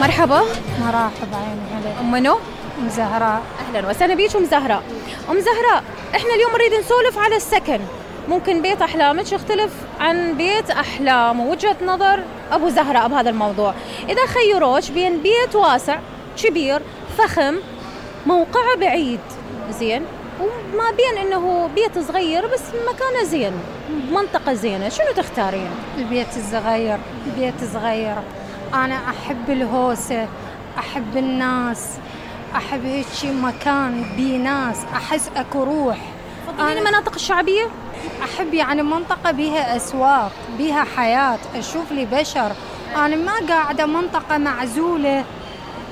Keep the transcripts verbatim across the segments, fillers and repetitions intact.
مرحبا. مرحبا، عيني عليك. أم منو؟ أم زهراء. أهلا وسهلا بيك أم زهراء. أم زهراء، إحنا اليوم نريد نسولف على السكن. ممكن بيت أحلامك يختلف عن بيت أحلام ووجهة نظر أبو زهراء بهذا الموضوع. إذا خيروش بين بيت واسع كبير فخم موقعه بعيد زين، وما بين إنه بيت صغير بس مكانه زين منطقة زينة، شنو تختارين؟ البيت الصغير. البيت صغير، أنا أحب الهوسة، أحب الناس، أحب هيك مكان بيه ناس، أحس أكو روح. تفضلين المناطق الشعبية؟ أحب يعني منطقة بيها أسواق، بيها حياة، أشوف لي بشر. أنا ما قاعدة منطقة معزولة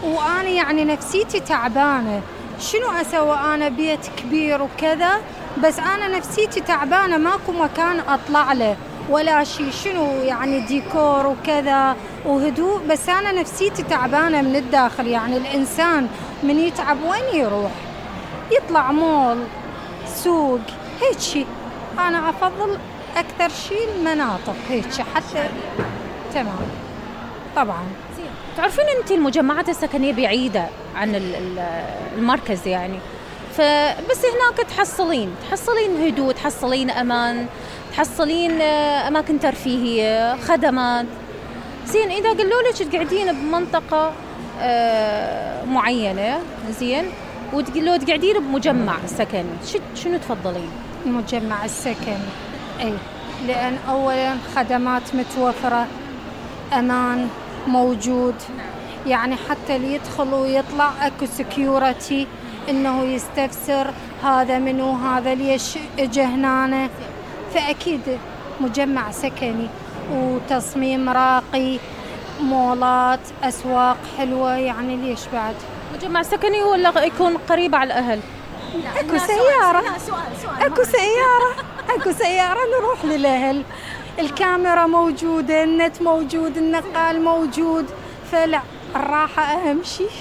وأنا يعني نفسيتي تعبانة. شنو أسوي أنا بيت كبير وكذا بس أنا نفسيتي تعبانة، ماكو مكان أطلع له ولا شيء، شنو يعني ديكور وكذا وهدوء، بس أنا نفسيتي تعبانة من الداخل. يعني الإنسان من يتعب وين يروح؟ يطلع مول، سوق، هيك شيء. أنا أفضل أكثر شيء المناطق هيك حتى. تمام طبعا. تعرفين أنت المجمعات السكنية بعيدة عن المركز يعني، فبس هناك تحصلين تحصلين هدوء، تحصلين أمان، تحصلين أماكن ترفيهية، خدمات زين. إذا قالوا لك تقعدين بمنطقة معينة زين وتقولوا تقعدين بمجمع سكني، شنو تفضلين؟ المجمع السكني، أي، لأن أولاً خدمات متوفرة، أمان موجود، يعني حتى اللي يدخل ويطلع أكو سكيورتي إنه يستفسر هذا منو، هذا ليش اجى هنا. فأكيد مجمع سكني وتصميم راقي، مولات، أسواق حلوة، يعني ليش بعد؟ مجمع سكني ولا يكون قريب على الأهل؟ أكو سيارة، أكو سيارة، أكو سيارة نروح للأهل، الكاميرا موجودة، النت موجود، النقال موجود، فلا الراحة أهم شيء.